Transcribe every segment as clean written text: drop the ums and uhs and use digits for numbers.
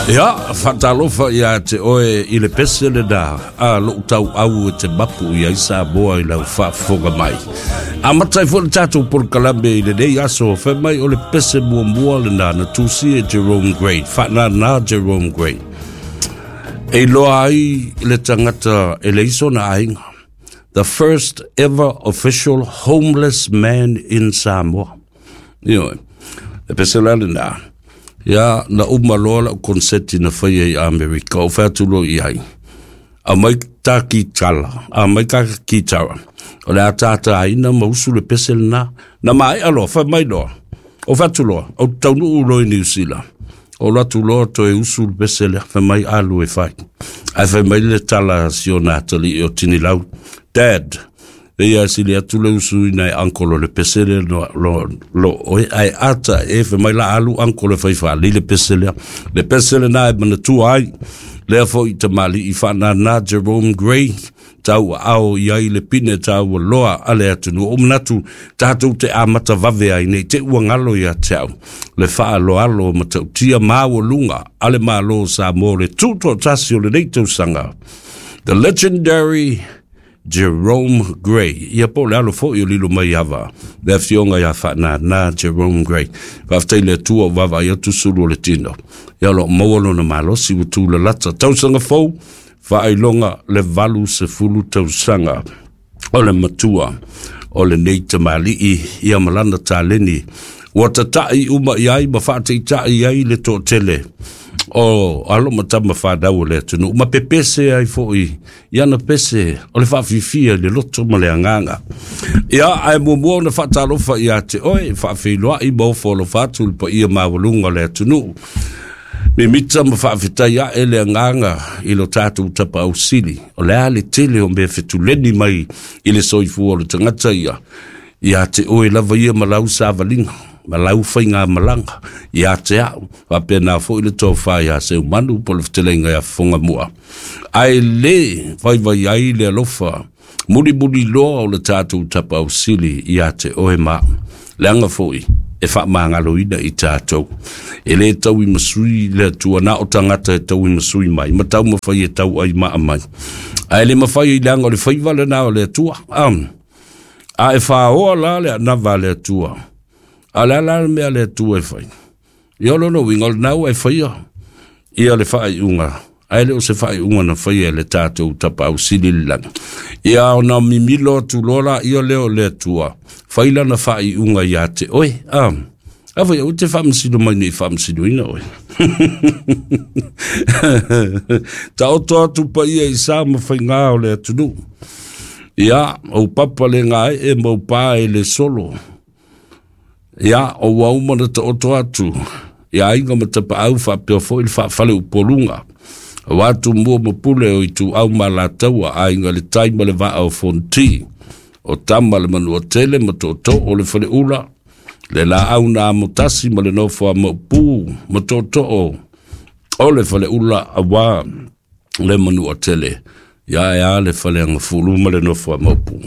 Ia, faatalofa ia te oe i le pese lena a lou tauau e te mapu i ai Samoa i lau faafofoga mai. Amata ai foi le tatou polokalame i lenei aso, fai mai o le pese muamua lena na tusia e Jerome Gray, faanana Jerome Gray. E iloa ai le tagata e leai sona aiga. The first ever official homeless man in Samoa. Ioe, e pese la lena. Ia, na uma loa lau konseti na faia i Amerika, ou fai atu loa i ai. Aumai ta kitala, aumai ta kitara. O le a tātāina ma usu le pese lena. Na maea loa, fai mai loa. Ou fai atu loa, ou te taunuu loa i Niu Sila. Ou alu atu loa toe usu le pese lea, fai mai alu e fai. Ae fai mai le tala a si ona atalii o Tinilau, Dad, Ia sili atu le usu ina e uncle o le pese lea lo, lo, lo oe ae ata e fai mai la alu uncle e fai faalei le pese lea. Le pese lena e manatua ai lea foi tamalii faanana Jerome Gray tau aao i ai le pine taua loa a le atunuu. O manatu tatou te amata vave ai nei te ua ngalo ia te au le faaaloalo matautia maualuga a le Malo o Samoa o le tutoatasi o lenei tausaga. The legendary Jerome Gray. Ia po o le alo foi o Lilo Maiava, le afioga ia Faanana Jerome Gray. Faafetai i le Atua ua vaavaai atu sulu o le tino. Ia o lo o maua lona malosi ua tulalata. Tausaga fou, faailoga le 80 tausaga o le matua o lenei tamalii ia ma lana taleni ua tata'i uma i ai ma faataitai ai le toatele o alo ma tama fanau o le atunuu ma pepese ai foi i ana pese o le faafifia i le loto ma le agaga. Ia, ae muamua ona faatalofa ia te oe, faafeiloai ma ofo alofa atu i le paia maualuga o le atunuu. Mimita ma faafetai ae le agaga i lo tatou tapaau sili, o le a le tele o mea fetuleni mai i le soifua o le tagata ia, ia te oe lava ia ma lau savaliga, ma lau faigamalaga, ia te au, faapena foi le tofa ia Seumanu po o le fetalaiga ia Fofogamua. Ae le vaivai ai le alofa mulimuli loa o le tatou tapaau sili ia te oe ma au, leaga foi e faamagaloina i tatou. E le tauimasui le Atua, na o tagata e tauimasui mai, ma taumafai e tauai maa mai. Ae le mafai leaga o le faiva lena o le Atua. A e faoa la le anava a le Atua, a o le a la le mea a le Atua e fai? Ia o lona uiga, o lena ua e faia ia le faaiuga, ae le o se faaiuga na faia e le tatou Tapaau Sili i le lagi. Ia ona mimilo atu loa laia lea o le Atua, fai lana faaiuga ia te oe. A foi aua te faamasino mai nei faamasinoina oe. Taoto atu paia i sa ma faigā o le atunuu. Ia, ou papa le gaee ma ou pā e le solo. Ia, o ua uma ona taoto atu i aiga ma tapaau faapea foi le faafale upoluga. Aua Tumua ma Pule o Ituau ma Alataua, Aiga i le Tai ma le Vaa o Fonoti, o Tama le Manuatele ma Tootoo o le Faleula, le Laau na Amotasi ma le Nofo a Maopu ma Tootoo o le Faleula aua le Manuatele. Ia e a le Faleagafulu ma le nofo a Maopu.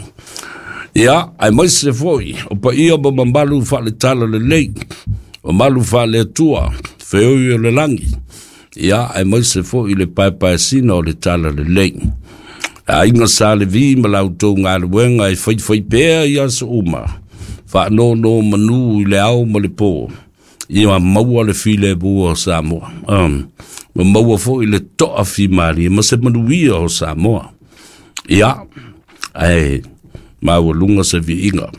Ia, aemaise foi o paia ma mamalu faaletala lelei, mamalu faale-Atua, feoi o le lagi. Ia, aemaise foi le paepaesina o le tala lelei. Aiga Sa Levi ma la outou galuega e faifai pea i aso uma, faanono manu i le ao ma le po. Ia maua le filemu o Samoa, ma maua foi le toafimalie ma se manuia o Samoa. Ia, ae maualuga se viiga,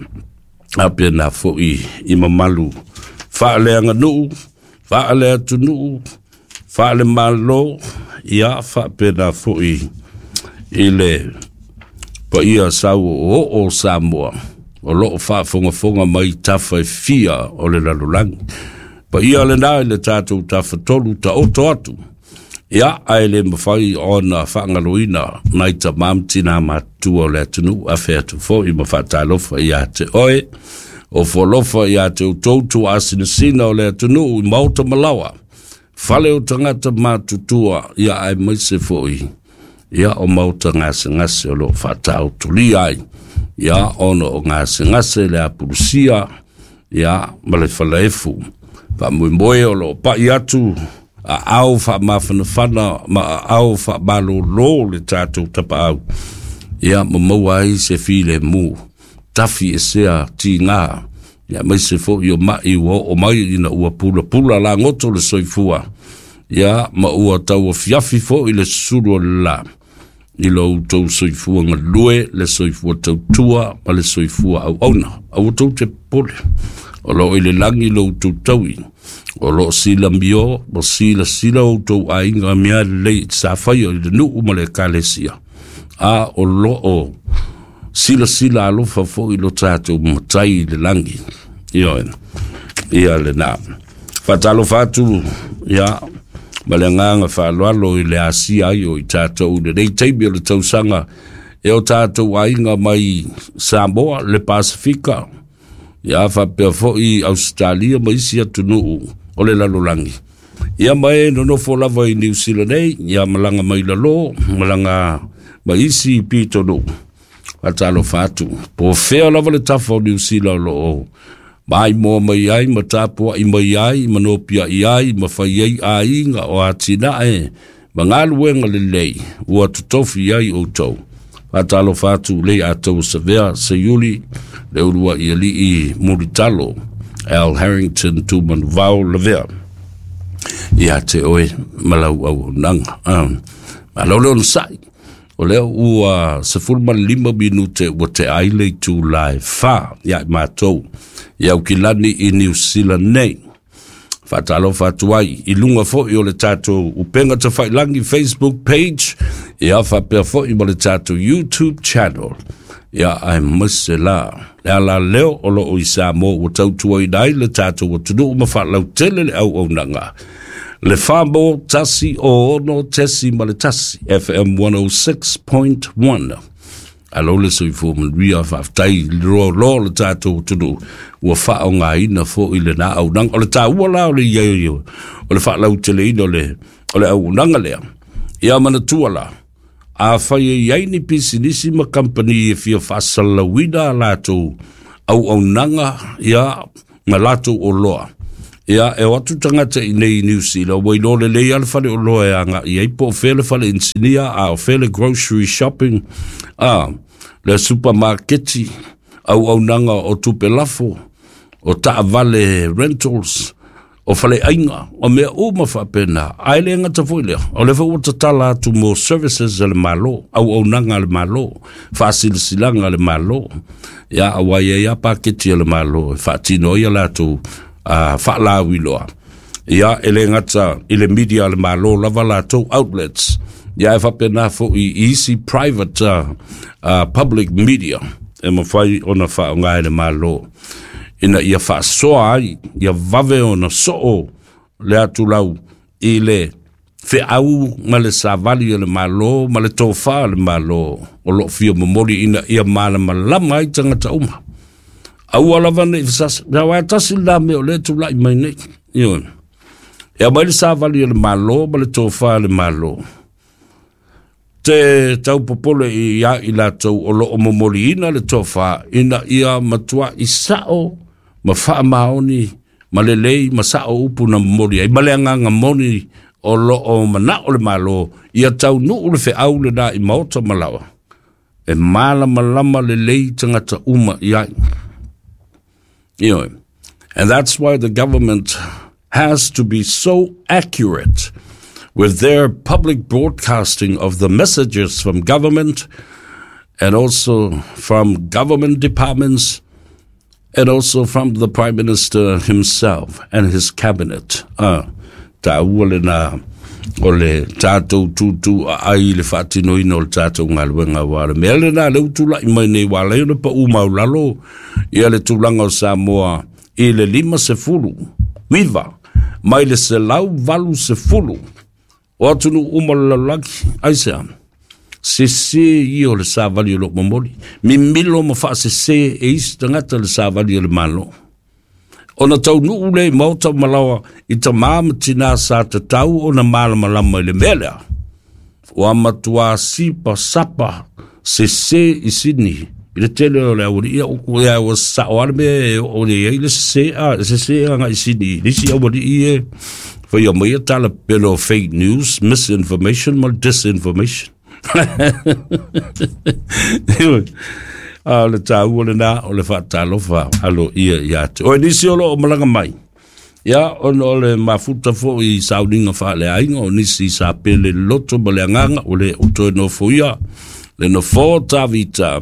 faapena foi i mamalu faaleaganuu, faaleatunuu, faalemalo, ia faapena foi i le paia sau oooo o Samoa o lo o faafogafoga mai tafa e fia o le lalolagi. Paia lena i le tatou tafatolu taoto atu, ia ae le mafai ona faagaloina nai tamā ma tinā matutua o le atunuu, afe atu foi ma faatalofa ia te oe, ofo alofa ia te outou tuaasinasina o le atunuu i maota ma laoa, fale o tagata matutua, ia aemaise foi ia o maota gasegase o lo o faataotolia ai, ia ona o gasegase le apulusia, ia ma le falaefu. Faamoemoe o lo o pai atu Aao faamafanafana ma aao faamalōlō le tatou tapaau, ia ma maua ai se filemu, tafi esea tigā, ia aemaise foi o ma'i ua oo mai ina ua pulapula lagoto le soifua, ia ma ua tauafiafi foi le susulu o le lā i lo outou soifua galue, le soifua tautua ma le soifua auauna. Aua tou te popole, o lo o i le lagi lo outou taui, o lo o silamio ma silasila outou aiga mea lelei sa faia i le nuu ma le ekalesia, a o lo o silasila alofa foi lo tatou Matai i le lagi. Ioe, ia lena. Faatalofa atu, ia, ma le agaga faaaloalo i le asia ai o i tatou i lenei taimi o le tausaga e o tatou aiga mai Samoa, le Pasefika, ia faapea foi Ausetalia ma isi atunuu o le lalolagi. Ia ma e nonofo lava i Niu Sila nei, ia malaga mai lalo, malaga ma isi pitonuu. Faatalofa atu, po o fea lava le tafa o Niu Sila o lo o maimoa mai ai ma tapuai mai ai ma nopiai ai ma fai ai aiga o atinae ma galuega lelei ua totofi ai outou. Faatalofa atu lei atou Savea Seiuli, le uluai alii Mulitalo, Al Harrington Tumanuvao Lavea. Ia te oe ma lau auaunaga. Malo le onosai. O lea ua 15 minute ua tea ai le itula e 4 ia i matou i Aukilani i Niu Sila nei. Faatalofa atu ai i luga foi o le tatou upega tafailagi Facebook page, ia faapea foi ma le tatou YouTube channel. Ia aemaise la le ala leo o loo i Samoa ua tautuaina ai le tatou atunuu ma faalautele le auaunaga. Le Famo 106.1 FM 106.1. Alo le soifua manuia, faafetai i le loaloa o le tatou atunuu ua faaaogaina foi lena auaunaga. O le taua la o le i ai o le faalauteleina o le auaunaga lea. Ia manatua la, afai e i ai ni pisinisi ma kamupani e fia faasalalauina a latou auaunaga, ia, ma latou oloa, ia, e o atu tagata i nei i Niu Sila, ua iloa lelei lava le fale oloa e agai ai, po o fea le fale inisinia, a o fea le grocery shopping, a, le supamaketi, auaunaga o tupe lafo, o taavale rentals, o faleaiga, o mea uma faapena. Ae le gata foi lea, o lea foi ua tatala atu mo services a le Malo, auaunaga a le Malo, faasilasilaga a le Malo. Ia, aua e i ai lava paketi a le Malo e faatino ai a latou faalauiloa. Ia, e le gata i le media a le Malo lava latou outlets, ia e faapena foi i isi private public media e mafai ona faaaoga e le Malo ina ia faasoa ai, ia vave ona soo le atulau i le feau ma le savali a le Malo ma le tofa a le Malo o lo o fia momoli ina ia malamalama ai tagata uma. Aua lava ne i fasasa. Aua e tasi lena mea o lea e tulai mai nei. Ioe. E aumai le savali a le Malo ma le tofa a le Malo. Te tau popole ia i latou o lo o momoliina le tofa ina ia matuai sao ma faamaoni ma lelei ma sao upu na momoli ai ma le agaga moni o lo o manao le Malo ia taunuu le feau lena i maota ma laoa e malamalama lelei tagata uma i ai. Ioe. And that's why the government has to be so accurate with their public broadcasting of the messages from government and also from government departments and also from the Prime Minister himself and his cabinet. Taua lena o le tatou tūtū aai i le faatinoina o le tatou galuega, aua o le mea lena lea ua tulai mai nei, ua ala ai ona pau maulalo ia le tulaga o Samoa i le 59 mai le 180 o atunuu uma o le lalolagi. Aisea? Sese ia o le savali o loo momoli, mimilo ma faasese e isi tagata le savali o le Malo. Ona taunuu lea i maota ma laoa i tamā ma tinā sa tatau ona malamalama i le mea lea, ua matuā sipa sapa sese i Sydney i le tele o le aualii. Ia upu ia ua sao lava le mea e oo nei ai le sese, a sese agai i Sydney i le isi aualii e Faia mai ia tala pepelo o fake news, misinformation ma le disinformation. A o le taua lena o le faatalofa aloaia ia te oe. Nisi o lo o malaga mai, ia, ona o le mafuta foi i sauniga faaleaiga, o nisi sa pele le loto ma le agaga, ua le o toe nofoia le nofoa o Tavita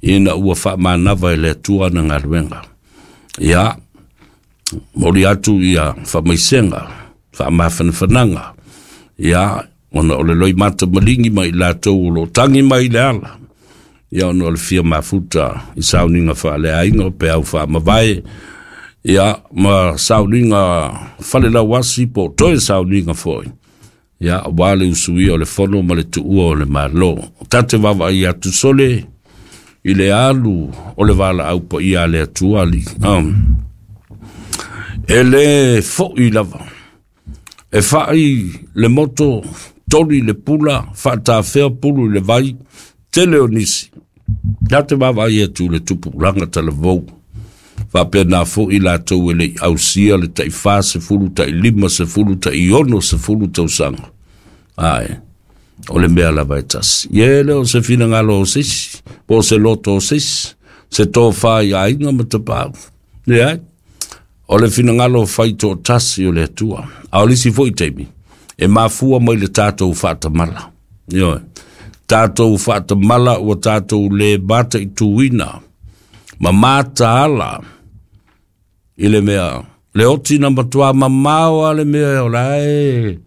ina ua faamanava e le Atua ana galuega. Ia, momoli atu ia faamaisega, faamafanafanaga, ia, ona o le loimata maligi ma i latou o lo o tagi mai i le ala, ia, ona o le fia mafuta i sauniga faaleaiga o peau faamavae, ia, ma sauniga falelauasi po o toe sauniga foi, ia, aua le usuia o le fono ma le tuua o le Malo. Ta te vaavaai atu sole i le alu o le valaau paia a le Atua Alii. E le fo'i lava. E fa'i le moto, toli le pula, faatafea pulu i le vai, tele o nisi. Ta te vaavaai atu i le tupulaga talavou. Faapena foi latou e le i ausia le tai 40, tai 50, tai 60 tausaga. Ae, o le mea lava e tasi. Ia e le o se finagalo o se isi, po o se loto o se isi, se tofa i aiga ma tapaau. Leai, o le finagalo fai toatasi o le Atua. A o le isi foi taimi, e mafua mai le tatou faatamala. Ioe, tatou faatamala ua tatou le mataituina ma mataala i le mea, le oti na matua mamao a le mea o la e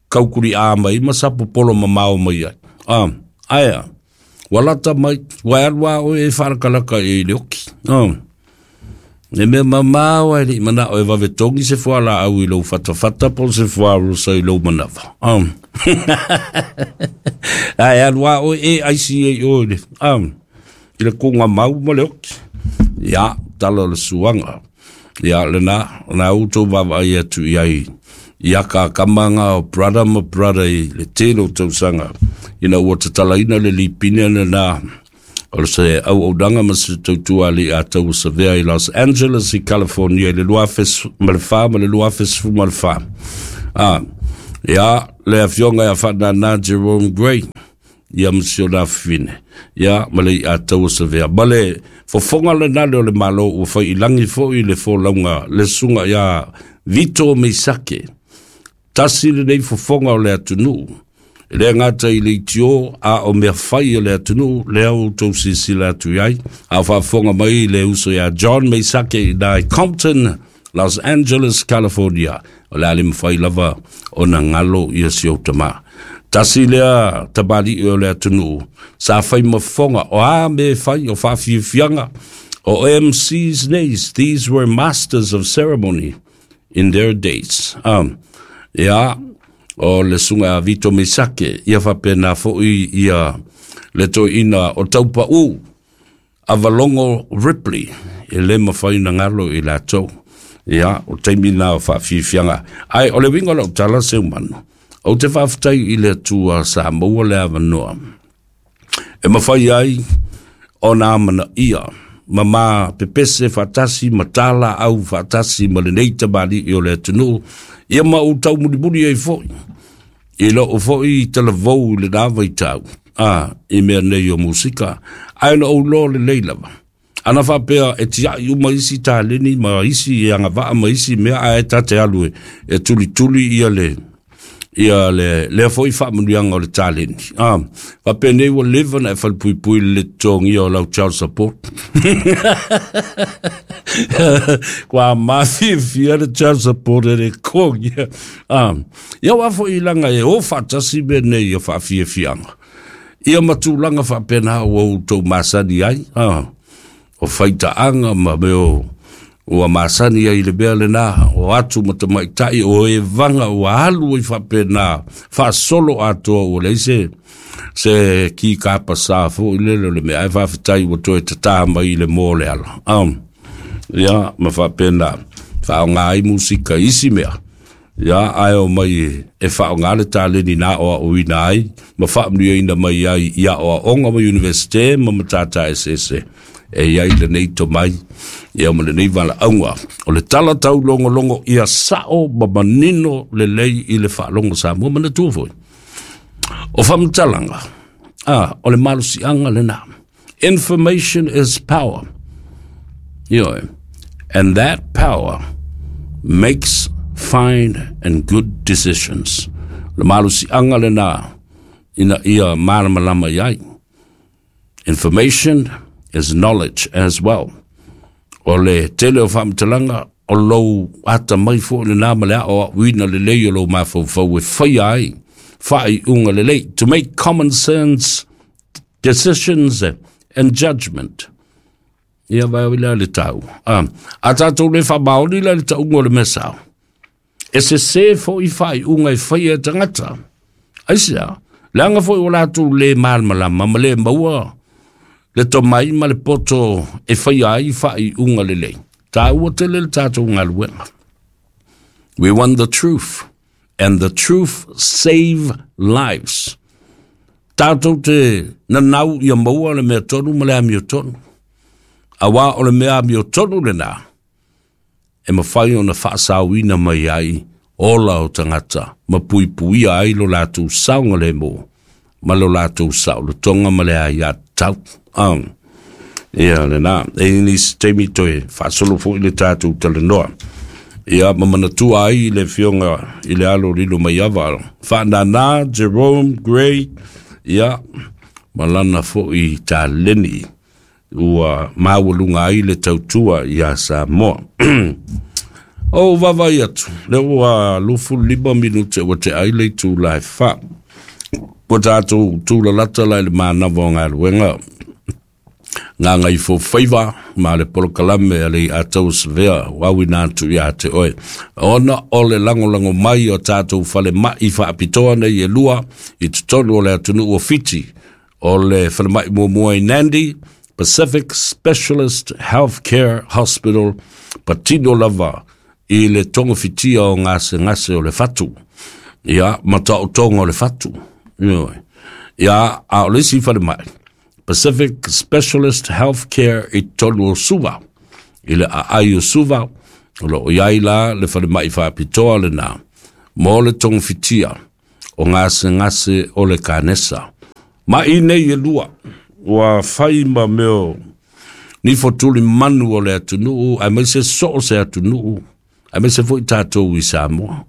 kaukuli'a mai ma sapopolo mamao mai ai. Ae a, ua lata mai, ua e alu a oe e faalakalaka i ai i le oki. Le mea mamao e le i manao e vave togi se fualaau i lou fatafata po o se fuarosa i lou manava. Ae alu a oe e aisi ai oe le, i le kuga mau ma le oki. Ia, tala o le suaga. Ia, lena, na outou vaavaai atu i ai i akaakamaga o brother ma brother i le tele o tausaga ina ua tatalaina le lipine lena o se auaunaga ma se tautua alii a taua savea i Los Angeles i California i le 2004 ma le 2014. Ia, le afioga ia Faanana Jerome Gray, ia ma si ona afafine, ia, ma le i'a taua savea. Ma le fofoga lena lea o le Malo ua fai i lagi foi le folauga le susuga ia Vito Meisake. Tasi lenei fofoga o le atunuu, e le gata i leitio a o mea fai a le atunuu, lea ua outou silasila atu i ai, a o faafofoga mai le uso ia John Meisake i ina i Compton, Los Angeles, California. O le a le mafai lava ona galo ia si ou tama. Tasi lea tamalii o le atunuu sa fai ma fofoga, o a mea e fai, o faafiafiaga, o MCs nei, these were masters of ceremony in their days. Ia, o le susuga ia Vito Meisake, ia faapena foi ia le toeaina o Taupau, Avalogo Ripley, e le mafai ona galo i latou. Ia, o taimi na o faafiafiaga. Ae o le uiga o lau tala Seumanu, ou te faafetai i le Atua sa maua le avanoa e mafai ai ona amanaia ma ma pepese faatasi ma talaau faatasi ma lenei tamalii o le atunuu, ia ma ou taumulimuli ai foi i lou foi talavou i lena vaitau, i mea nei o musika, ae na ou iloa lelei lava. Ana faapea e tiai uma isi taleni ma isi agavaa ma isi mea, ae ta te alu e tulituli ia le ia le lea foi faamanuiaga o le taleni. Faapenei ua leva ona e falepuipui i le le totogia o lau child support. Kua mafiafia le child support e le totogia. Ia aua foi laga e o faatasi mea nei o faafiafiaga. Ia ma tulaga faapena ua outou masani ai, o faitaaga ma mea o ua masani ai i le mea lena, o atu ma tamaitai, o evaga ua alu ai faapena, faasolo atoa ua leai se kikapasā foi lele o le mea, ae faafetai ua toe tatā mai i le moa o le ala. Ia, ma faapena, faaaoga ai musika i isi mea, ia, ae o mai e faaaoga le taleni na aoaoina ai ma faamanuiaina mai ai i aoaoga ma Iunivesite ma matata eseese e i ai lenei tomai. Ia ma lenei valaauga o le tala taulogologo ia sao ma manino lelei i le faalogo Samoa. Manatua foi o faamatalaga o le malosiaga lena. Information is power. Ioe. And that power makes fine and good decisions. Le malosiaga lena ina ia malamalama i ai. Information is knowledge as well. O le tele o faamatalaga o lou atamai foi lena ma le aoaoina lelei o lou mafaufau e faia ai faaiuga lelei. To make common sense decisions and judgment. Ia vai o le tau. A tātou le whamaoni la le taunga o le mea sao. E se se fo i whai unga i whai e tangata. Aisea, leaga foi o latou le malamalama ma le maua le tomai ma le poto e whai ai faaiuga lelei. Tāua tele le tātou galuega. We want the truth, and the truth save lives. Tātou te nanau ia maua le mea tonu ma le amiotonu. Auā o le mea amiotonu lena, e mafai ona faasaoina mai ai ola o tagata ma puipuia ai lo latou saogalemu ma lo latou saolotoga ma le aiatatau. Ia lena, e nisi taimi toe faasolo foi le tatou talanoa. Ia ma manatua ai le afioga i le alo Lilo Maiava, Faanana Jerome Gray, ia ma lana foi taleni ua maualuga ai le tautua iā Samoa. O vaavaai atu, le ua 25 minute ua tea ai le itula e 4. Ua tatou tulalata la i le manava o galuega gagaifofaiva ma le polokalame a le Ataua Savea uauina atu iā te oe. Ona o le lagolago mai o tatou falemai faapitoa nei e lua i totonu o le atunuu o Fiti, o le falemai muamua i Nandi, Pacific Specialist Healthcare Hospital, patino lava i le togafitia o gasegase o le fatu. Ia, ma taotoga o le fatu. Ioe. Ia, a o le isi falemai, Pacific Specialist Healthcare i totonu o Suva, i le aai o Suva, o lo o i ai la le falemai faapitoa lena, mo le togafitia o gasegase o le kanesa. Ma i nei e lua, ua fai ma mea nifo tuli manu o le atunuu, aemaise soo se atunuu, aemaise foi tatou i Samoa.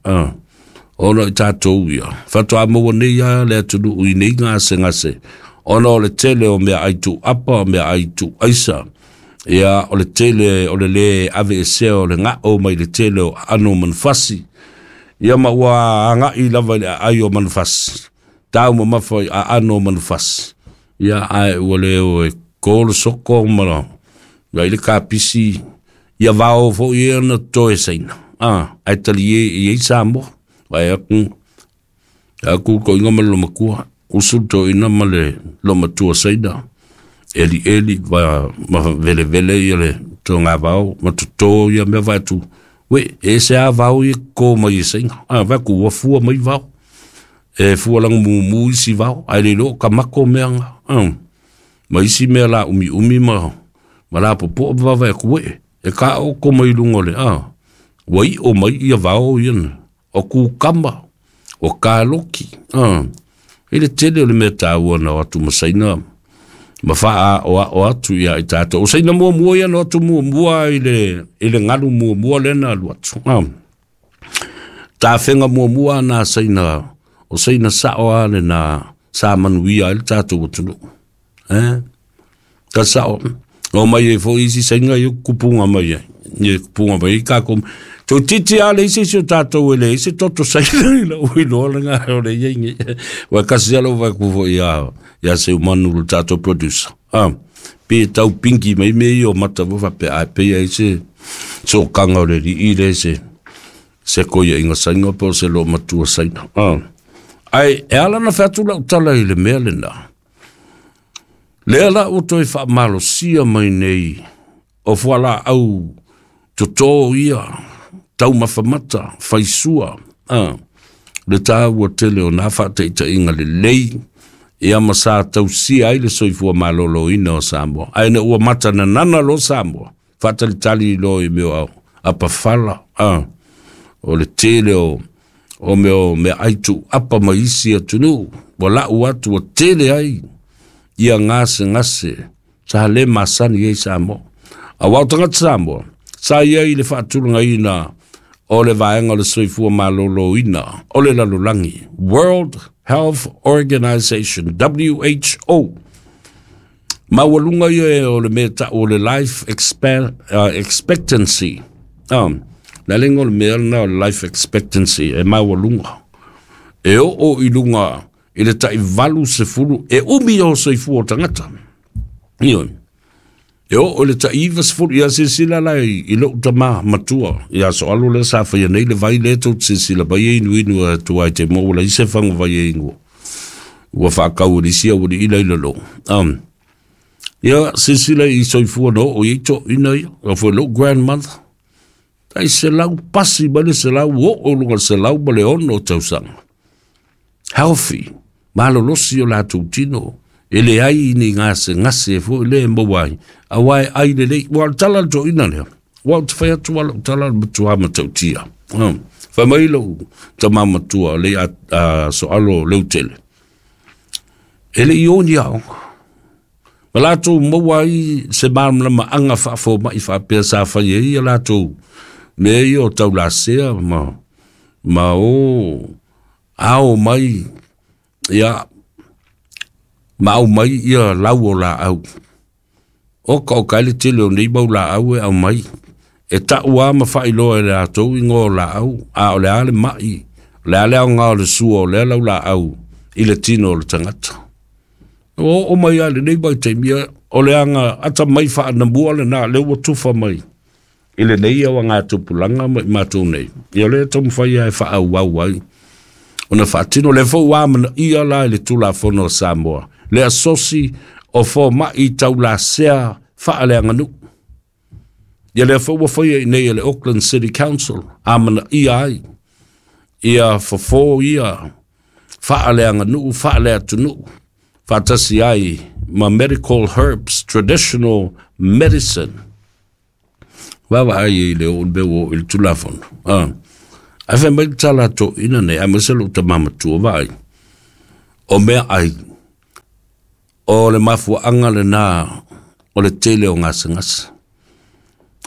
Ona i tatou ia, faatoa maua nei a le atunuu i nei gasegase, ona o le tele o meaai tuuapa, meaai tuuaisa, ia o le tele o le lē aveesea o le gao mai le tele o aano o manufasi, ia ma ua agai lava i le aai o manufasi, taumamafa i aano o manufasi, ia ae ua le o e ko le soko ma ia i le kapisi, ia vao foi ia na toe saina. Ae talie i ai Samoa. Vai aku, aku ko inga ma le lomakua, usu to ina ma le lomatua saina. Eli eli va ma vele vele ia le tonga vao, ma toto ia mea vai atu. We, e se a vao i ko mai i saina. Vai ku ua fua mai vao. E fua langa mumu isi vao. Ai le lo ka mako mea nga. Ma isi mea la umi umi ma ma la popo va vai ku we. E ka o ko mai lunga le. Ua i o mai ia vao ia na. O kukama, o kaloki. I le tele o le mea tāua na o atu ma saina, ma whaa o a o atu ia i tātou. O saina muamua ia na o atu muamua i le ngalu muamua lena alu atu. Tāwhenga muamua na saina, o saina sao a le na sa manuia i le tātou atunuu. Ka sao. O mai e fo isi saina i kupunga mai ai. I kupunga mai i kako. Tō titi a le isi o tātou e le isi toto saina i la ui loa le ngā o le iei ngi. Wa kasi alo vai ku fo ia se umanu le tātou producer. Pe tau pinki mai me i o mata wo pe ai pe ai se so kanga o le ri i le se koia inga saina po se lo matua saina. Ai e ala na whatu lau tala i le mea le na. Lea la o toi whaamalosia mai nei o fuala au toto ia taumafamata faisua le tāua tele o nā faataitaiga lelei ia ma sa tausia ai le soifua malōlōina o Samoa. Ae na ua matananana lo Samoa. Faatalitali loa i mea o apafala, o le tele o mea o meaai tuuapa mai isi atunuu, ua lau atu ua tele ai ia gasegase sa le masani ai Samoa. Auā o tagata Samoa sa i ai i le faatulagaina o le Vaega o le Soifua Maloloina o le Lalolagi, World Health Organization, WHO, maualuga ia o le mea tau o le life expectancy. Le alega o le mea lena o le life expectancy e maualuga, e oo i luga i le tai 80, e umi o soifua o tagata. Ioe. E oo i le tai 90, ia silasila la i lou tama matua, ia Soalo lea sa faia nei le vai lea tou te silasila mai e inuinu atu ai te mo ua leai se faga vai e inua. Ua faatau e le isi aualii la i lalo. Ia silasila i soifua na oo i ai toeaiina ia, o foi lou grandmother, tai 100 pasi mai le 100 oo i luga o le 106 tausaga. Healthy, malolosi o latou tino, e leai ni gasegase foi lea e maua ai, auā e ai lelei. Ua o le tala a le toeaina lea, ua ou te fai atu lava lau tala o le matua matautia. Fai mai lou tama matua le a Soalo Leutele, e le i o ni aoga, ma latou maua ai se malamalamaaga faafomai faapea sa fai ai ia latou mea ia o taulasea ma o ao mai ia ma aumai ia lau o laau. Oka oka ai le tele o nei mau laau e aumai, e tau lava ma faailoa e latou igoa o laau, a o le a le mai, o le a le aoga o le sua o lea lau laau i le tino o le tagata. Ua oo mai lava i lenei vaitaimi, o le aga atamai faanamua lena, lea ua tufa mai i lenei auagatupulaga ma i matou nei, ia o lea e taumafai lava e faaauau ai ona faatino. O lea foi ua amanaia la i le Tulafono a Samoa le asosi o fomai taulasea faaleaganuu. Ia lea foi ua faia i nei e le Auckland City Council, amanaia ai ia fofo ia faaleaganuu faaleatunuu faatasi ai ma medical herbs, traditional medicine. Vaavaai i le oo mea ua oo i le Tulafono. Ae fai mai le tala a toeaiina nei, aemaise lou tama matua, vaai, o meaai, o le mafuaaga lena o le tele o gasegase.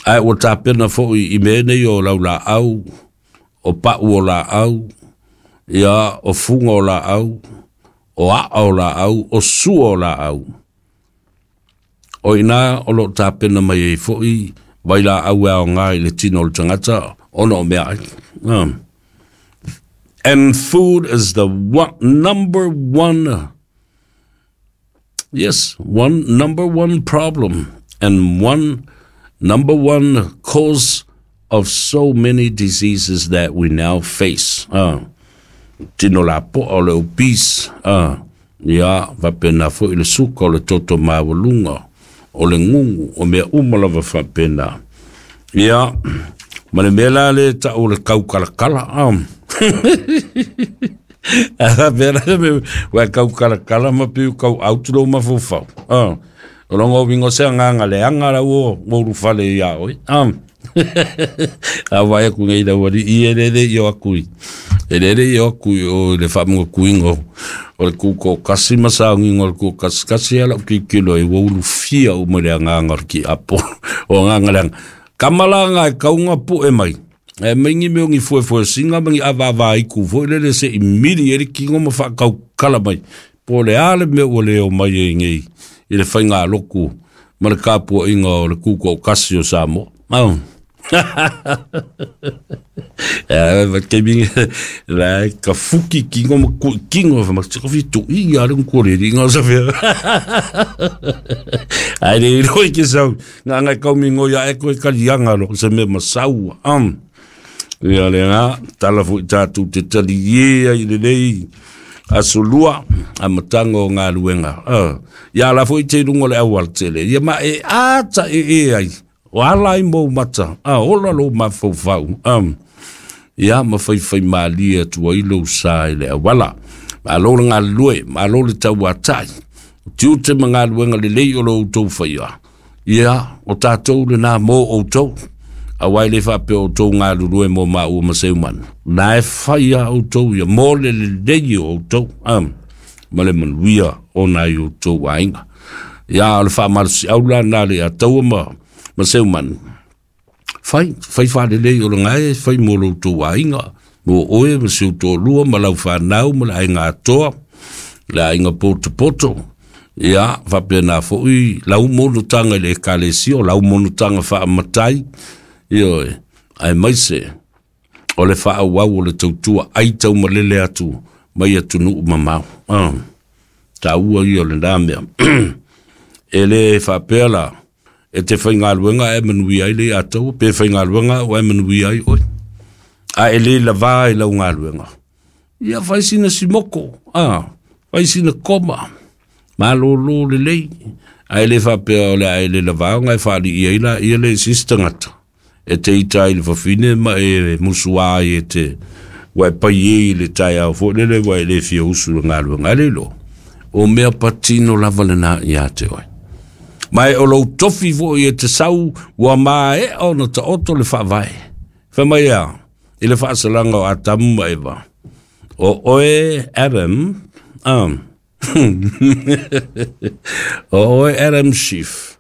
Ae ua tapena foi i mea nei o laulaau, o pau o laau, ia, o fuga o laau, o aa o laau, o sua o laau. O i ina o lo o tapena mai ai foi vailaau e aoga i le tino o le tagata ona o meaai. And food is the one, number one, yes, one number one problem and one number one cause of so many diseases that we now face. Tino lapoa o le obese, ia, faapena foi le suka, o le toto maualuga, o le gugu, o mea uma lava faapena. Ia, ma le mea la lea e tau o le kaukalakala. Faapea la le mea, ua kaukalakala ma piu kau autu lou mafaufau. O lona uiga o se agaga leaga la ua ulufale ia oe. A vaai atu nei lau alii e le i o atu i e le i o atu i o le faamanatuina o le tutoatasi ma sauniga o le tutoakasikasi ia lau tilotilo ai ua ulufia uma i le agaga o le tiapo o agaga leaga. Kama la e kauga pu'e mai e mai ni mea o ni fuefuesina ma ni avaavaaitu foi lele se i mili ai le tino ma faataukala mai po o le a le mea ua le omai ai nei i le faigalotu ma le tapuaiga o le tutoatasi o Samoa. Taimi la e ka fuki kingo ma kui kingo fa ma tiko fi tu i a le ko le ringa sa fe. Ai le roi ke sau nga nga kau mi ngoia e koe kalianga lo se me masau am. Ia le nga tala fu tātou te tali ie ai le nei aso lua a matanga o galuega. Ia la foi te lunga o le auala tele. Ia ma e ata e e ai. O ala ai mou mata, a ola lou mafaufau. Ia ma faifai malie atu ai lou sa i le auala. Malo le galulue, malo le tauatai. O tiute ma galuega lelei o lo outou faia. Ia, o tatou lenā mo outou. Auā e le faapea o outou galulue mo maua ma Seumanu. Na e fai a outou ia mo le lelei o outou, ma le manuia o nai outou aiga. Ia, o le faamalosiau la na le ataua ma Seumanu. Fai, fai faalelei o le gae, fai mo lo outou aiga, mo oe ma si ou toalua ma lau fanau ma le aiga atoa, le aiga potopoto. Ia, faapena foi lau monotaga i le ekalesia, o lau monotaga faamatai, ioe, aemaise o le faaauau o le tautua ai taumalele atu mai atunuu mamao. Taua ia o lena mea. E le faapea la, e te faigaluega ae manuia ai le ia taua, pe faigaluega au ae manuia ai oe. A e le lavā i lau galuega, ia fai sina simoko, fai sina koma, malōlō lelei, ae le faapea o le a e le lavā ona e faalii ai la ia le isi tagata. E te ita ai le fafine ma e musuā ai e te ua e pai i le taeao foi lele ua e le fia usu le galuega. Ai le iloa, o mea patino lava lenā ia te oe. Ma e o lou tofi foi e te sau ua maea ona taoto le faavae. Fai mai a, i le faasalaga o Atamu ma Eva. O oe Adam, o oe Adam Schiff,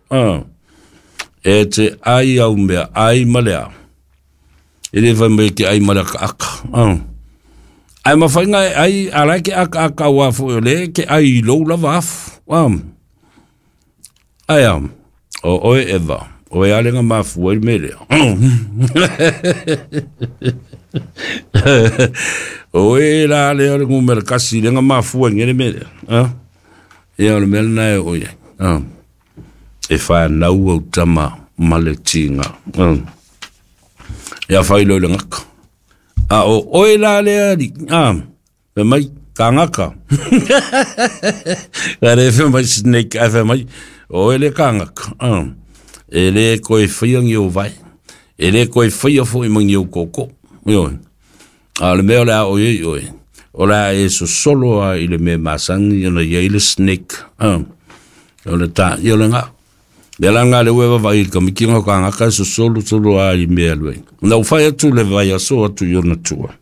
e te ai au mea ai ma lea. E le fai mai ke ai ma le akaaka. Ai mawhainga e ai, a lai ke akaaka ua fo o le ke ai i lou lava afu. Ai a, o oe Eva, o e alenga mafua i le mea lea. O e la lea o le numera kasi lenga mafua i ngele mea lea. Ia o le mea lena e o iai. E whanau au tama ma le tinga. Ia whai lo i le ngaka. A o oe la lea li, fai mai, ka ngaka. Ka re fai mai snake, ai fai mai, o oe le ka ngaka. E le koe whaia ngi o vai. E le koe whaia fo i mangi o koko. Ioe. A le mea o le a oe i oe. O le a e sosolo a i le mea masangi ona ia i le snake. O le tā, ia o le ngā. Mea la ngā le ue vava i ka mikinga o ka ngaka e sosolo solo a i mea lue. Na u whai atu le vai aso atu i ona tua.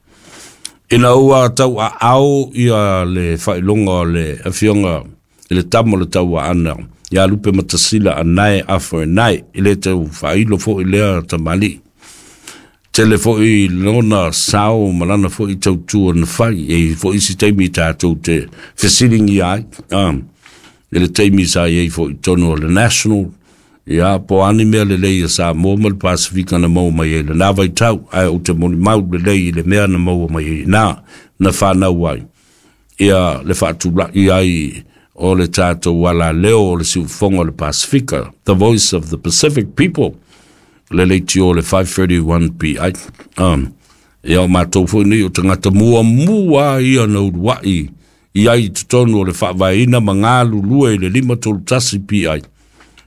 Ina ua tau a ao ia le whailonga o le afionga i le tamo le tau a ana. Ia lupe matasila a nae a fo e nae. I le tau whailo fo i lea tamali. Tele foi lona sao ma lana foi tautua na fai. E foi isi taimi tātou te fesilingi ai. I le taimi sa iai foi tonu o le National. Ia, po ani mea lelei a Samoa ma le Pasifika na maua mai ai lenā vaitau, ae ou te molimau lelei i le mea na maua mai ai inā na whanau ai. Ia le faatulai ai o le tātou alaleo o le siufofoga o le Pasifika, The Voice of the Pacific People, le leitio o le 531 PI. Ia o matou foi nei o tagata muamua ia na uluai i ai i totonu o le faavaeina ma galulue i le 531 PI.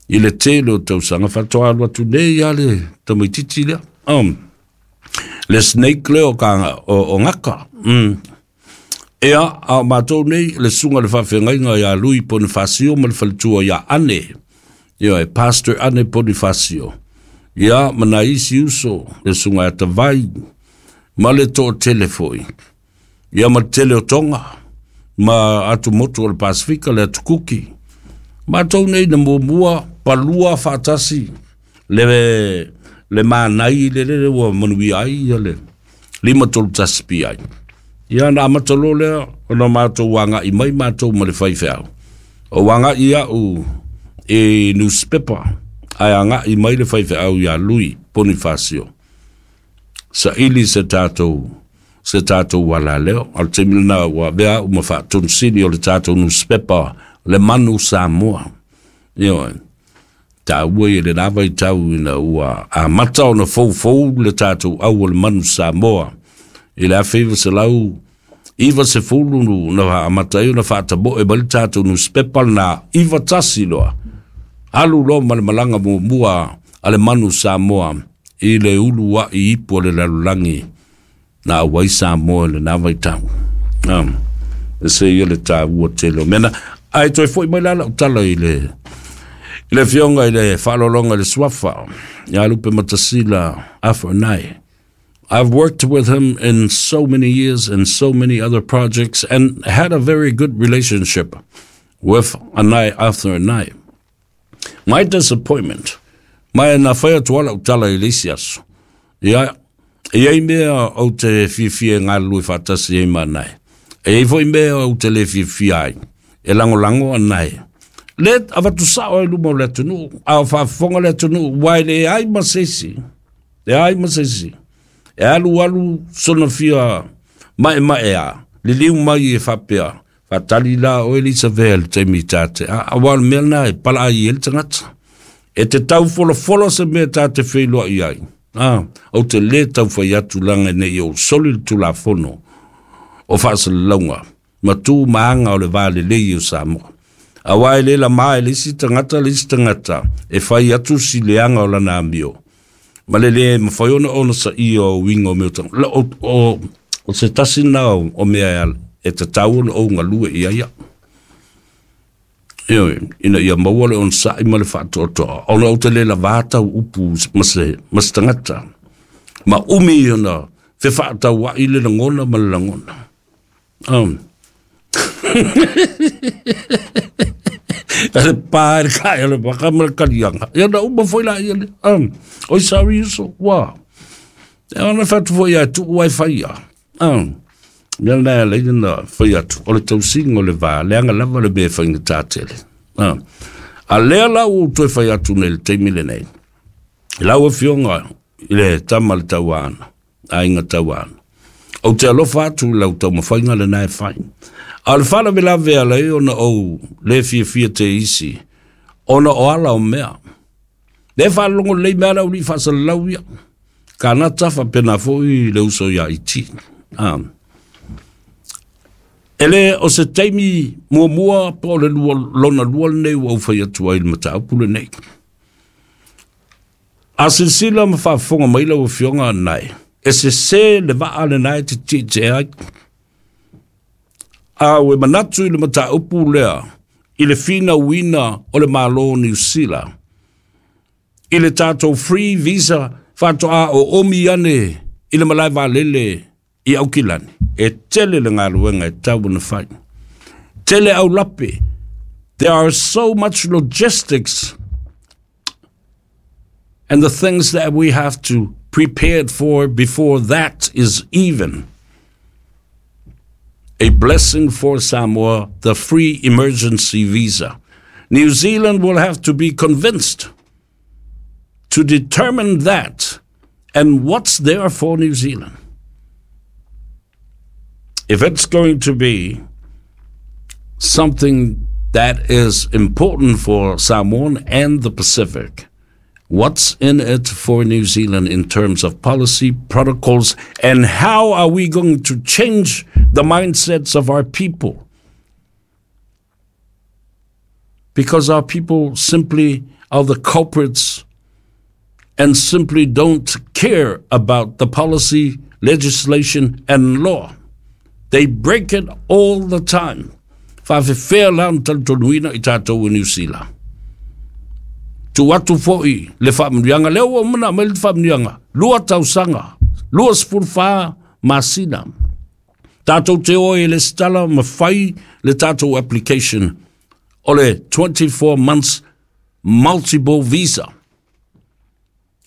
I le tele o tausaga faatoa alu atu nei a le tamaitiiti lea. Le snake lea o, ka, o ngaka. Ea, a o matou nei, le susuga i le faafeagaiga ia Lui Bonifacio ma le faletua ia Ane. Ia, e Pastor Ane Bonifacio. Ia, ma nai isi uso, le susuga ia Tavai, ma le toatele foi. Ia, ma le tele o Tonga, ma atumotu o le Pasifika, le atu Kuki. Matou nei na muamua, palua faatasi, le, le manai le lele ua manuia ai ia le 531 PI. Ia na amata loa lea ona matou agai mai matou ma le faifeau. O agai au i newspaper, ae agai mai le faifeau ia Lui Bonifacio. Saili se tatou alaleo. A o le taimi lena ua avea au ma faatonusili o le tatou newspaper le Manu Samoa. Ioe. Taua ia lenā vaitau ina ua amata ona foufou le tatou au o le Manu Samoa i le 1990 na amata ai ona faatamoe mai le tatou newspaper lena 91 loa. Alu loa ma le malaga muamua a le Manu Samoa i le uluai ipu o le lalolagi na auai Samoa i lenā vaitau. E se ia le taua tele o mea na. Ae toe foi mai la lau tala i le I le afioga i le faaaloaloga i le suafa ia Lupematasila Arthur Anae. I've worked with him in so many years and so many other projects and had a very good relationship with Anae Arthur Anae. My disappointment, ma na fai atu ala tala i le isi aso. Ia, e iai mea ou te fiafia e galulue faatasi ai ma Anae. E iai foi mea ou te le fiafia ai, e lagolago Anae. Le avatu sao ai luma o le atunuu, a o faafofoga le atunuu, ua e leai ma se isi, leai ma se isi. E alu alu sona fia maemae liliu mai e faapea, faatali la oe Elisavea i le taimi ta te, aua o le mea lena e palaai ai le tagata. E te tau folafolo se mea ta te feiloai ai. Ou te le tau fai atu laga nei ou soli le tulafono o faasalalauga ma tu ma aga o le va lelei o Samoa. Aua e le lama e le isi tagata le isi tagata e fai atu si leaga o lana amio. Ma le le mafai ona ona saia o uiga o mea o se tasi na o mea e tatau ona ou galue i ai au. Ioe, ina ia maua le onosai ma le faatoatoa, ona ou te le lavā tau upu ma se tagata. Ma umi ona fefaatauai le lagona ma le lagona. Le pa e le kai o le waka ma le kalianga. Ia na uma foi la ia le. Oi sorry uso, wa. E ona whatu foi ia tu ai whai ia. Mea nā leina na whai atu. O le tausinga o le vā, leanga lava le mea whainga tātele. A lea la ua toe fai atu nei le taimi lenei. Lau afioga i le tama le tauana, aiga tauana. Ou te alofa atu i lau taumafaiga lena e fai. A o le faalavelave ala ai ona ou le fiafia te isi, ona o ala o mea. Le faalogo lelei mea ala uli faasalalau ia. Kanata faapena foi le uso ia iti. E le o se taimi muamua po o le lua, lona lua lenei ua ou fai atu ai i le mataupu lenei. A silasila ma faafofoga mai lau afioga Anae, e sese le vaa lena e te tietie ai. A ua manatu i le mataupu lea i le finauina o le Malo o Niu Sila i le tatou free visa faatoa o omi ane i le malae vaalele i Aukilani, e tele le galuega e tau ona fai. Tele aulape. There are so much logistics and the things that we have to prepare for before that is even a blessing for Samoa, the free emergency visa. New Zealand will have to be convinced to determine that and what's there for New Zealand. If it's going to be something that is important for Samoan and the Pacific, what's in it for New Zealand in terms of policy, protocols, and how are we going to change the mindsets of our people? Because our people simply are the culprits and simply don't care about the policy, legislation, and law. They break it all the time. Faafefea la ona talitonuina i tatou i Niu Sila. Tu atu foi le faamanuiaga lea ua uma ona aumai le faamanuiaga, 2 tausaga, 24 masina. Tatou te o ai e lesitala ma fai le tatou application o le 24 months multiple visa.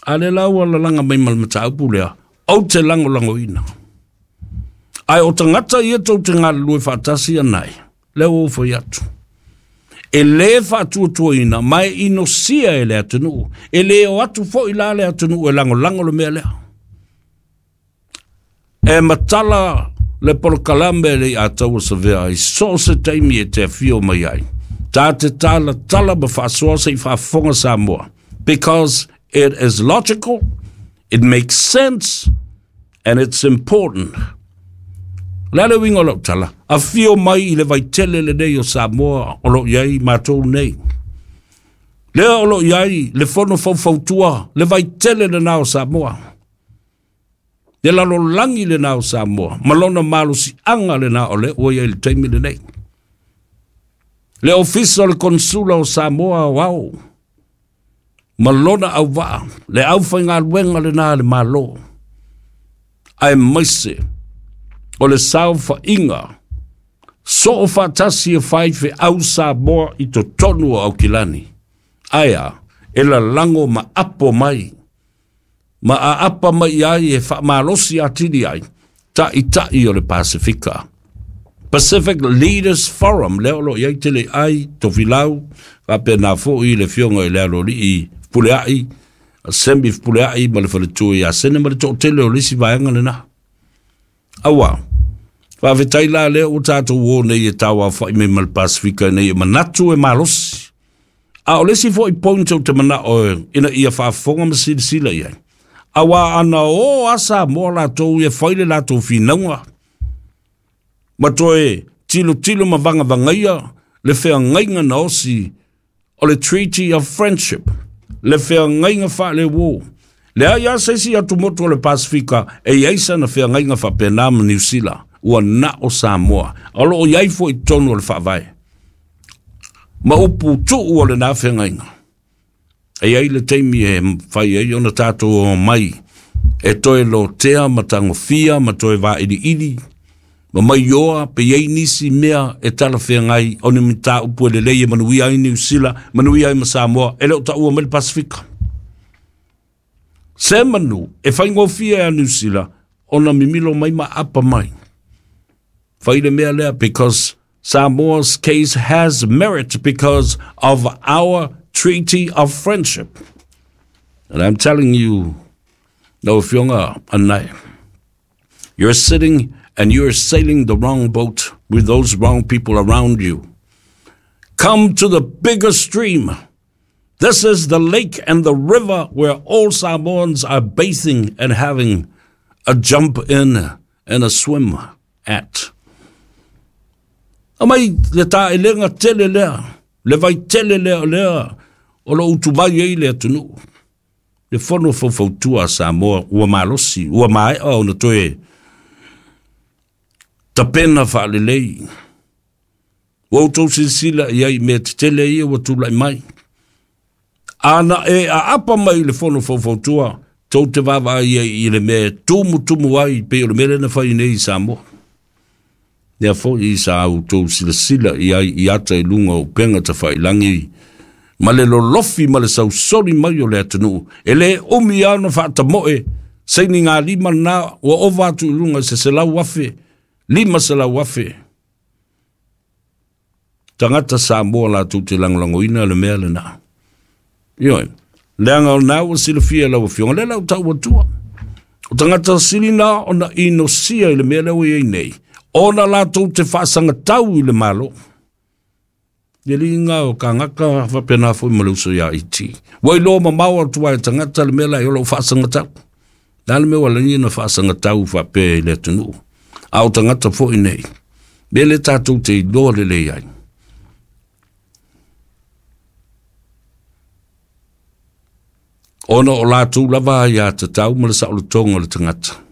A lea la ua lalaga mai ma le mataupu lea, ou te lagolagoina. Ae o tagata ia tou te galulue faatasi anai, lea ua ou fai atu. E le faatuatuaina ma e inosia e le atunuu. E le o atu foi la le atunuu e lagolago le mea lea. E matala le polokalame le i ataua savea ai so o se taimi e te afio mai ai. Ta te tala tala ma faasoa se i faafofoga Samoa. Because it is logical, it makes sense, and it's important. Le a le uiga o lau tala, afio mai i le vaitele lenei o Samoa o lo o i ai matou nei. Lea o lo o i ai le fono faufautua, le vaitele lena o Samoa. Le lalolagi lena o Samoa, ma lona malosiaga lena o lea ua i ai le taimi lenei. Le ofisa o le konsula o Samoa o ao. Ma lona auvaa, le aufaigaluega lena a le Malo, aemaise o le saofaiga soofaatasi e faifeau Samoa i totonu o Aukilani. Ae a? E lalago ma apo mai, ma aapa mai ai e faamalosi atili ai taitai o le Pasefika. Pacific Leaders Forum, lea o lo o i ai Teleai, Tofilau, faapena foi le afioga i le Aloalii Fepuleai, Semi Fepuleai ma le faletua ia Sene ma le toatele o le isi vaega lena. Aua, faafetai la lea ua tatou o nei e tauaofai mai ma le Pasefika ina ia manatu e malosi. A o le isi foi point ou te manao ina ia faafofoga ma silasila i ai, aua ana o a Samoa latou e fai le latou finauga, ma toe tilotilo ma vagavagaia le feagaiga na osi o le Treaty of Friendship, le feagaiga faaleuo. Leai lava se isi atumotu o le Pasefika e i ai sana feagaiga faapena ma Niu Sila, ua na o Samoa. O lo o i ai foi i totonu o le Faavae ma upu tuu o lena feagaiga. E i ai le taimi e fai ai ona tatou omai e toe lotea ma tagofia ma toe vailiili ma maioa pe i ai nisi mea e talafeagai o ni mataupu e lelei e manuia ai Niu Sila, manuia ai ma Samoa, e le o taua mai le Pasefika. Se manu e faigofie a Niu Sila ona mimilo mai ma apa mai. Fai le mea lea because Samoa's case has merit because of our Treaty of Friendship. And I'm telling you, lau Afioga Anae, you're sitting and you're sailing the wrong boat with those wrong people around you. Come to the bigger stream. This is the lake and the river where all Samoans are bathing and having a jump in and a swim at. Aumai le taelega tele lea, le vai tele lea o lea o lo o utuvai ai le atunuu. Le fono faufautua a Samoa ua malosi, ua maea ona toe tapena faalelei. Ua outou silasila i ai i mea tetele ia ua tulai mai. Ana e aapa mai i le fono faufautua, tou te vaavaai ai i le mea e tumutumu ai pei o le mea lea na fai nei i Samoa. Lea foi sa outou silasila i ai i ata i luga o upega tafailangi ma le lolofi ma le sausoli mai o le atunuu. E le umi lava ona faatamoe sainigalima lena ua ova atu i luga i se 100,000, 500,000 tagata Samoa latou te lagolagoina le mea lena. Ioe, leaga o lena ua silafia e lau Afioga, lea la ua tau atua. O tagata sili na ona inosia i le mea lea ua i ai nei, ona latou te faasagatau i le Malo. Le liga o kagaka faapena foi ma le uso ia IT. Ua iloa mamao atu ai tagata le mea la i o lou faasagatau. Le a le mea ua lagi na faasagatau faapea i le atunuu. A o tagata foi nei, mea le tatou te iloa lelei ai. Ona o latou lava aiatatau ma le saolotoga o le tagata.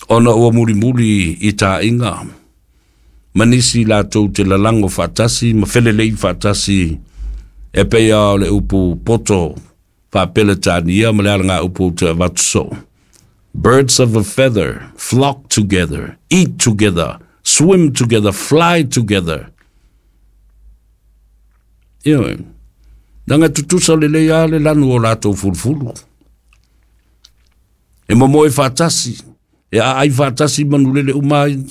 Ona ua mulimuli i taaiga ma nisi latou te lalago faatasi ma felelei faatasi e pei lava o le upu poto faa-Peretania ma le alagaupu ou te avatu soo. Birds of a feather flock together, eat together, swim together, fly together. Ioe, leaga e tutusa lelei lava le lanu o latou fulufulu. E momoe faatasi, e aai faatasi manulele uma ai.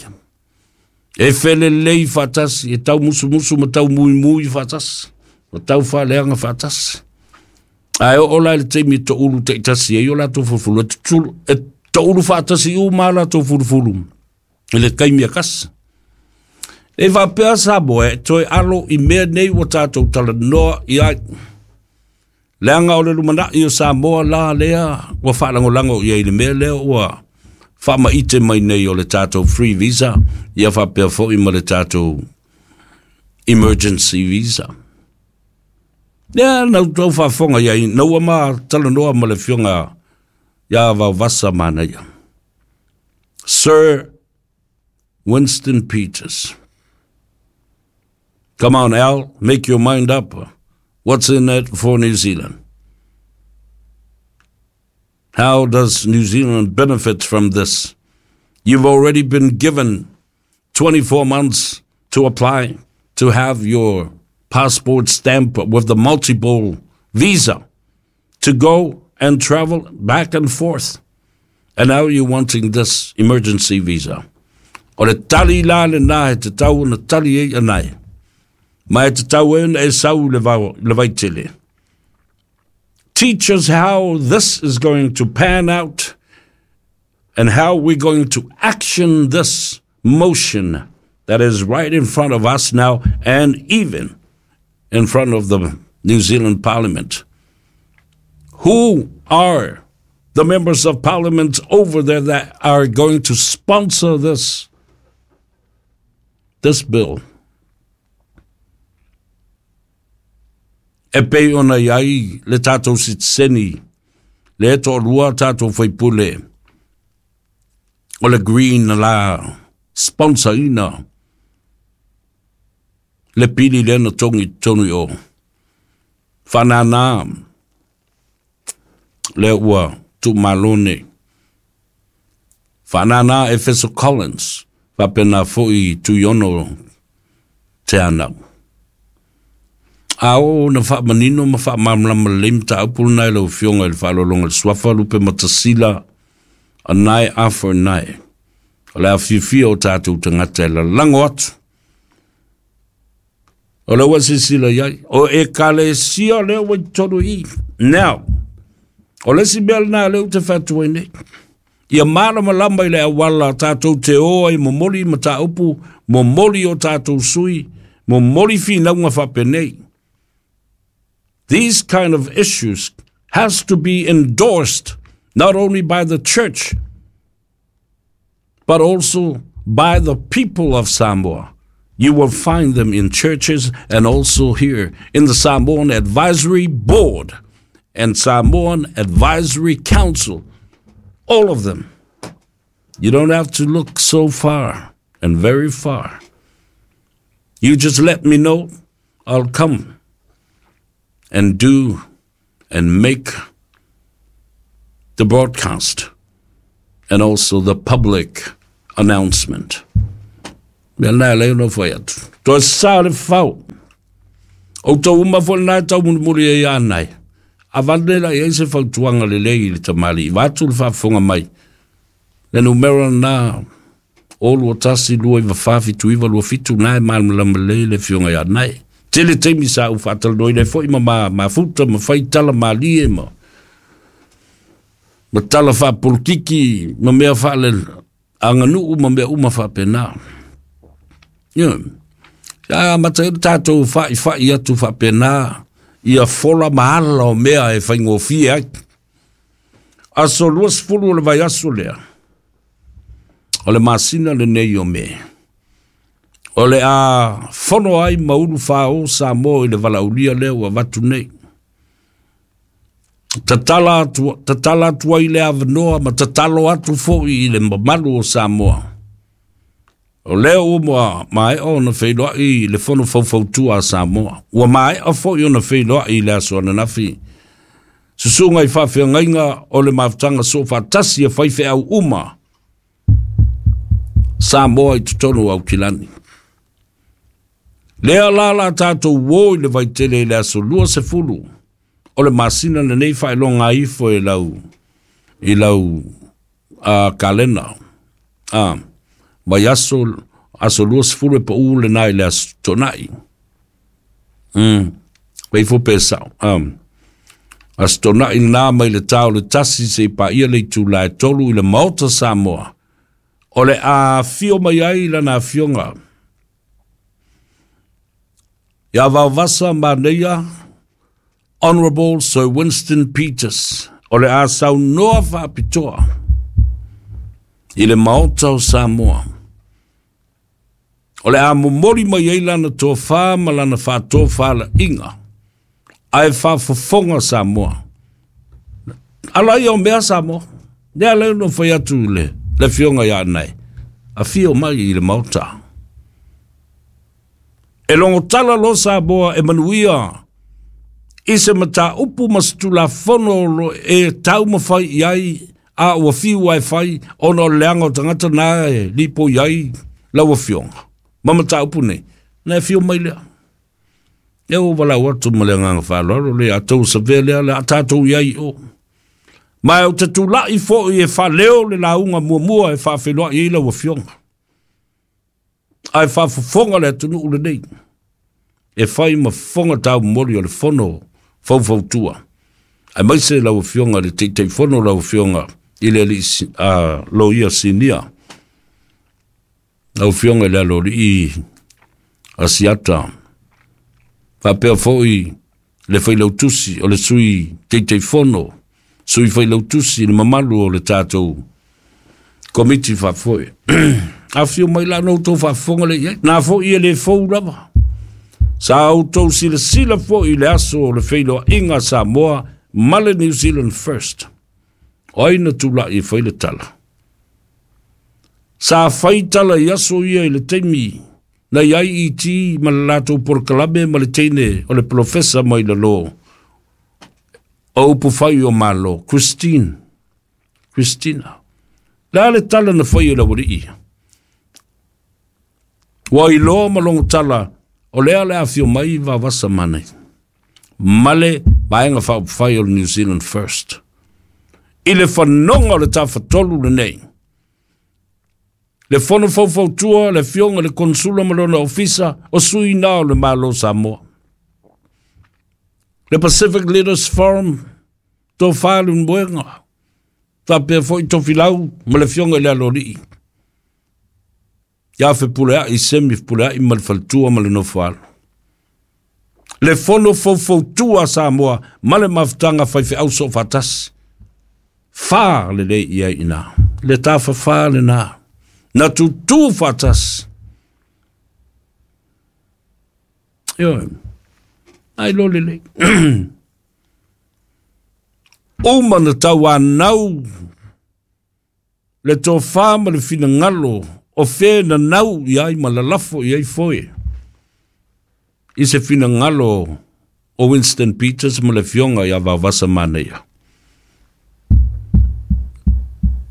E felelei faatasi, e taumusumusu ma taumuimui faatasi, ma taufaaleaga faatasi. Ae oo la i le taimi e toulu taitasi ai o latou fulufulu, e, tutulu, e toulu faatasi uma a latou fulufulu i le taimi e kasi. E faapea Samoa e toe alo i mea nei ua tatou talanoa i ai. Leaga o le lumanai o Samoa la lea ua faalagolago i ai i le mea lea ua faamaite mai nei o le tatou free visa, ia faapea foi ma le tatou emergency visa. Lea na outou faafofoga i ai, na ua ma talanoa ma le afioga ia Vaovasa Manaia. Sir Winston Peters. Come on, Al, make your mind up. What's in it for New Zealand? How does New Zealand benefit from this? You've already been given 24 months to apply to have your passport stamp with the multiple visa to go and travel back and forth. And now you're wanting this emergency visa. O le tali la le nā he te tau na tali e anai. Ma e te tau e e sau le, vau, le vaitele. Teach us how this is going to pan out and how we're going to action this motion that is right in front of us now and even in front of the New Zealand Parliament. Who are the members of parliament over there that are going to sponsor this, this bill? E pei ona iai le tātou sitiseni, le e to'alua tātou faipule, o le Green la sponsor ina, le pili lea na togi i totonu i o. Whanana, lea ua tuumalo nei. Whanana Efeso Collins, faapena foi Tuiono Te Anau. A o na faamanino ma faamalamalama lelei mataupu lena i lau Afioga i le faaaloaloga i le Suafa Lupe Matasila, Anae Arthur Nae. O le afiafia o tatou tagata e lalago atu. O lea ua silasila i ai, o Ekalesia lea ua i totonu i i. Now, o le isi mea lena lea ou te fai atu ai nei, ia malamalama i le auala tatou te o ai momoli mataupu, momoli o tatou sui, momoli finauga faapenei. These kind of issues has to be endorsed not only by the church, but also by the people of Samoa. You will find them in churches and also here in the Samoan Advisory Board and Samoan Advisory Council. All of them. You don't have to look so far and very far. You just let me know. I'll come and do and make the broadcast and also the public announcement. Mea nā lei no whai atu. Toa sa le whau. O tau uma fo nā tau mulimuli e ia nai. A vane la i se fautuaga lelei i le tamalii, vaeatu le faafofoga mai, le numera lena, 0 2 1 2 9 4 7 9 2 7, lena e malamalama lelei le afioga ia Nae. Tele taimi sa ou faatalanoaina ai foi ma ma mafuta ma fai tala malie ma ma tala faapolokiki ma mea faale aganuu ma mea uma faapena. Ioe. Sa amata ai le tatou fa'ifa'i atu faapena ia fola ma ala o mea e faigofie ai. Aso 20 o le vaiaso lea, o le masina lenei o Me, o le a fono ai ma ulu fāō Samoa i le valaaulia lea ua avatu nei. Tatala atu, tatala atu ai le avanoa ma tatalo atu foi i le mamalu o Samoa. O lea ua maea ona feiloai le Fono Faufautua a Samoa. Ua maea foi ona feiloai i le aso ananafi. Susuga i faafeagaiga o le mafutaga soofaatasi a faifeau uma Samoa i totonu o Aukilani. Lea la la tatou uo i le vaitele i le aso 20 o le masina lenei faailoga ifo i lau i lau kalena. Vaiaso aso 20 e pau lena i le aso Toonai. Pei fo pe sao. Aso Toonai lena mai le tā o le 1 seia paia le itula e 3 i le Maota Samoa. O le a afio mai ai lana afioga ia Vaovasa Manaia Honourable Sir Winston Peters, o le a saunoa faapitoa i le Maota o Samoa. O le a momoli mai ai lana tofa ma lana faatofalaiga, ae faafofoga Samoa. Ala ia o mea Samoa. Lea lea na fai atu le, le afioga ia Anae, afio mai i le Maota. E logotala loa Samoa e manuia I se mataupu ma se tulafono o lo e taumafai i ai a ua fiu ai fai ona o le leaga o tagata na e lipoi ai lau afioga ma mataupu nei, na e fio mai lea. E ua walau atu ma le agaga faaaloalo le a tou savea lea le a tatou i ai i o. Ma ou te tulai foi e faaleo le lauga muamua e faafeiloai ai lau afioga. Ae faafofoga le atunuu lenei e fai ma fofoga taumoli o le fono faufautua. Aemaise lau afioga i le Taitaifono, lau afioga i le alii loia sinia, lau afioga i le aloalii Asiata, faapea foi le failautusi o le sui Taitaifono, sui failautusi, le mamalu o le tatou komiti faafoe. Afio mai la na outou faafofoga le i ai. Na foi e le fou lava. Sa outou silasila foi i le aso o le feiloaiga a Samoa ma le New Zealand First. O ai na tulai e fai le tala? Sa fai tala i aso ia i le taimi na i IET ma le latou polokalame ma le teine o le polofesa mai lalo o upufai o Malo, Christine. Christina. Le a le tala na fai e le aualii ia? Ua iloa ma logo tala o lea le afio mai Vavasa Manai ma le Vaega Faaupufai o le New Zealand First. I le fanoga o le Tafatolu lenei, le Fono Faufautua, le Afioga i le Konsula ma lona Ofisa, o sui na o le Malo o Samoa. Le Pacific Leaders Forum, Tofa Leulumoega, faapea foi Tofilau ma le Afioga i le Aloalii, ia Fepuleai, Semi Fepuleai ma le Faletua ma le Nofoalo. Le Fono Faufautua a Samoa ma le Mafutaga Faifeau Soofaatasi. Fa lelei i ai i ina. Le tafafa lena. Na tutū faatasi. Ioe. Ai lo lelei. Uma na tauanau le tofa ma le finagalo o fe nanau i ai ma lalafo i ai foe i se finagalo o Winston Peters ma le afioga ia Vaovasa Manaia.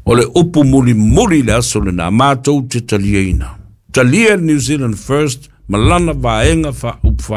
O le upu mulimuli i le aso lena, matou te taliaina. Talia le New Zealand First ma lana vaega faaupufai.